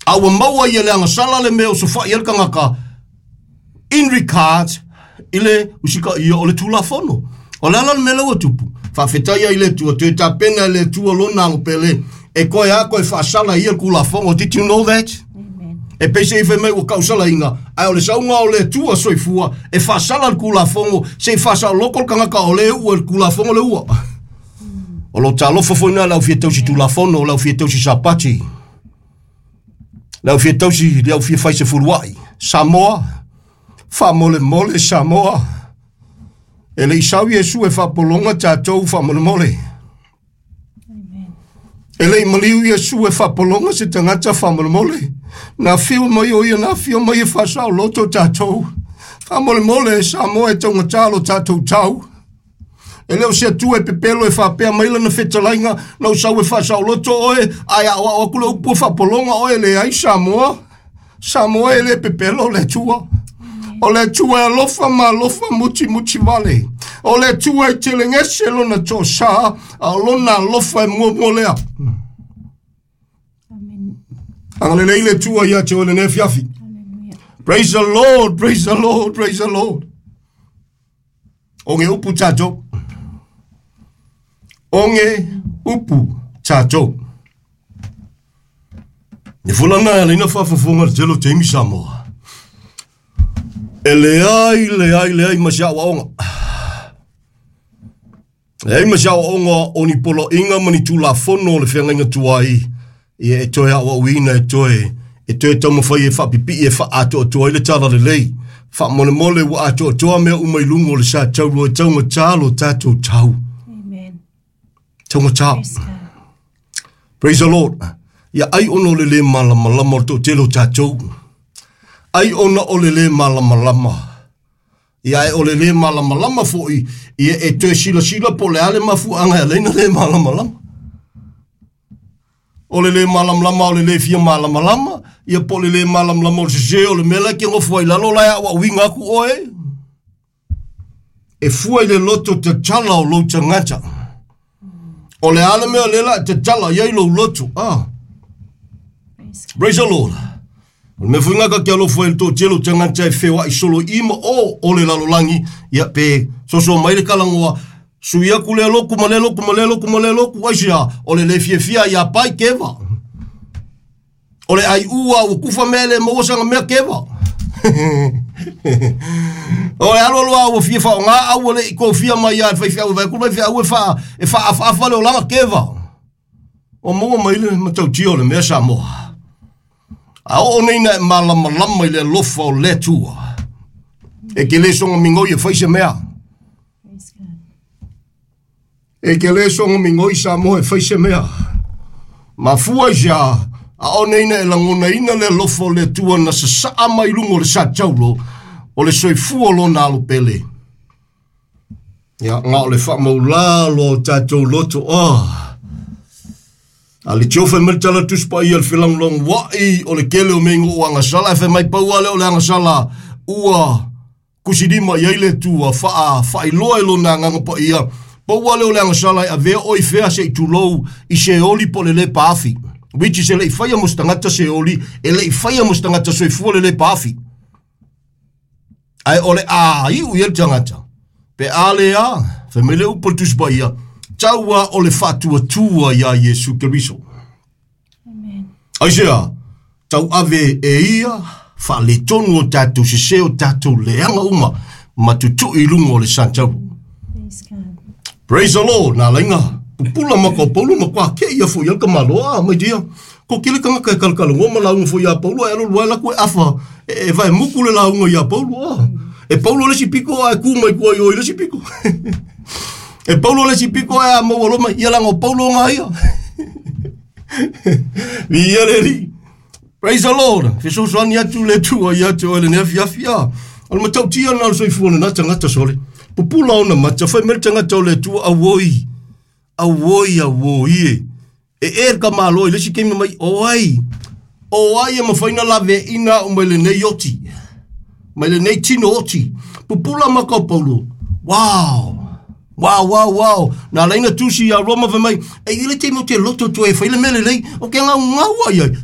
A ua maua ia le agasala le mea o sofa'i ai le tagata in regards i le usitaia o le Tulafono. O le ala le mea lea ua tupu, faafetai ai i le Atua, toe tapena e le Atua lona alo pele, e toe a toe faasala ia le Tulafono. Did you know that? Amen. E pei se i fai mai ua tausalaina, ae o le sauga o le Atua soifua e faasala le Tulafono, se i faasaoloto le tagata o le ua i le Tulafono le ua. O lo talofa foi na le au fia tausi Tulafono, o le au fia tausi Sapati, le au fia tausi, le au fia fai se fuluai. Samoa, faamolemole Samoa. E le i sau Iesu e faapologa tatou faamolemole. Amen. E le i maliu Iesu e faapologa se tagata faamolemole. Na afio mai o ia, na afio mai e faasaoloto tatou. Faamolemole Samoa e taugatā lo tatou tau. E le o se Atua e pepelo e faapea mai lana fetalaiga, na ou sau e faasaoloto oe, ae aoao atu le upu e faapologa oe, leai Samoa. Samoa e le pepelo le Atua. O le Atua e alofa ma alofa mutimuti vale. O le Atua e telegese lona toasā, a o lona alofa e muamua lea. Amen. Agalelei le Atua ia te oe lenei afiafi. Hallelujah. Praise the Lord, praise the Lord, praise the Lord. O ge upu tatou. O ge upu tatou. Le fulana e alaina faafofoga le tele o taimi Samoa. E leai, leai, leai ma se aoaoga. Leai ma se aoaoga o ni poloaiga ma ni tulafono o le feagaiga tuai, ia e toe aoaoina e toe, e toe taumafai e faapipii e faaatoatoa ai le tala lelei. Faamolemole ua atoatoa mea uma i luga o le sa tauro e taugatā lo tatou tau. Amen. Taugatā. Praise God. Praise the Lord. Ia ai ona o le lē malamalama o le toatele o tatou. Ai ona o le lē malamalama. Ia e o le lē malamalama foi, ia e toe silasila po o le a le mafuaaga e ala ai ona lē malamalama. O le lē malamalama o le lē fia malamalama, ia po o le lē malamalama o le sesē o le mea la e te nofo ai lalo la e aoaoina atu oe. E fua i le loto tatala o lou tagata. O le a le mea lea la e tatala i ai lou loto. Ah. Praise God. Praise the Lord. O le mea foi ngaka ke alofa i le toatele o tagata e feoai solo i ma o o le lalolagi, ia pe soso mai le kalagoa, sui aku lea loku ma lea loku ma lea loku ma lea loku, aisea, o le le fiafia ia pai keva. O le ai ua ua kufa mea le maua sanga mea keva. O le alu alu a ua fia faaaoga au ua le i kofia mai ia e faifeau e vaai atu le faifeau e faa e faaafaafa le olaga keva. O maua mai le matautia o le mea Samoa. A oo nei na e malamalama i le alofa o le Atua. E ke le soga migoi e fai se mea. Praise God. E ke le soga migoi Samoa e fai se mea. Mafua i se a, a o nei na e lagonaina le alofa o le Atua na sasaa mai luga o le sa taulo, o le soifua o lona alo pele. Ia, na o le faamaulalo o tatou loto, oh. A le tio fai mai le tala Tusi Paia le felagolagoai o le tele o mea i o agasala, ae fai mai pau lava lea o le agasala ua kusilima i ai le Atua, faa, faailoa i lona agaga paia, pau lava lea o le agasala e avea oe i fea se i tulou i se oli po o le le paafi. Which is e le i faia mo se tagata se oli, e le i faia mo se tagata soifua le le paafi. Ae o le a iu i ai le tagata, pe a le a, fai mai le upu a le Tusi Paia, tau a o le faatuatua iā Iesu Keriso. Amen. Aisea, tau ave e ia faaletonu o tatou sesē o tatou leaga uma ma tutui i luga o le santaulu. Praise God. Praise the Lord, nā lainga, pupula ma ka o Paulo ma kua ke ia fo i al ka malo, ah, my dear, ko kele kangaka e kalakalagoa ma lauga fo iā Paulo, e alu alu ai laku e afa, e vae muku le lauga iā Paulo, ah. E Paulo le isi piko, ae ku mai kua i o i le isi piko. E Paulo le isi piko, ae a maua loa mai, ia laga o Paulo ngā ia. Viia le Alii. Praise the Lord. Fesoasoani atu le Atua ia te oe lenei afiafi. Ah, o le matautia lena o le soifua o lena tagata sole. Pupula ona mata, fai mai le tagata o le Atua, auoi, auoi, auoi e. E e le tamaloa i le isi taimi mai, o ai, o ai e mafai ona laveaiina au mai lenei oti, mai lenei tino oti. Pupula mata o Paulo, wow! Wow, wow, wow. Nā laina tusi iā Roma fai mai, e i ai le taimi ou te loto toe e fai le mea lelei, o ke gaugau ai ai.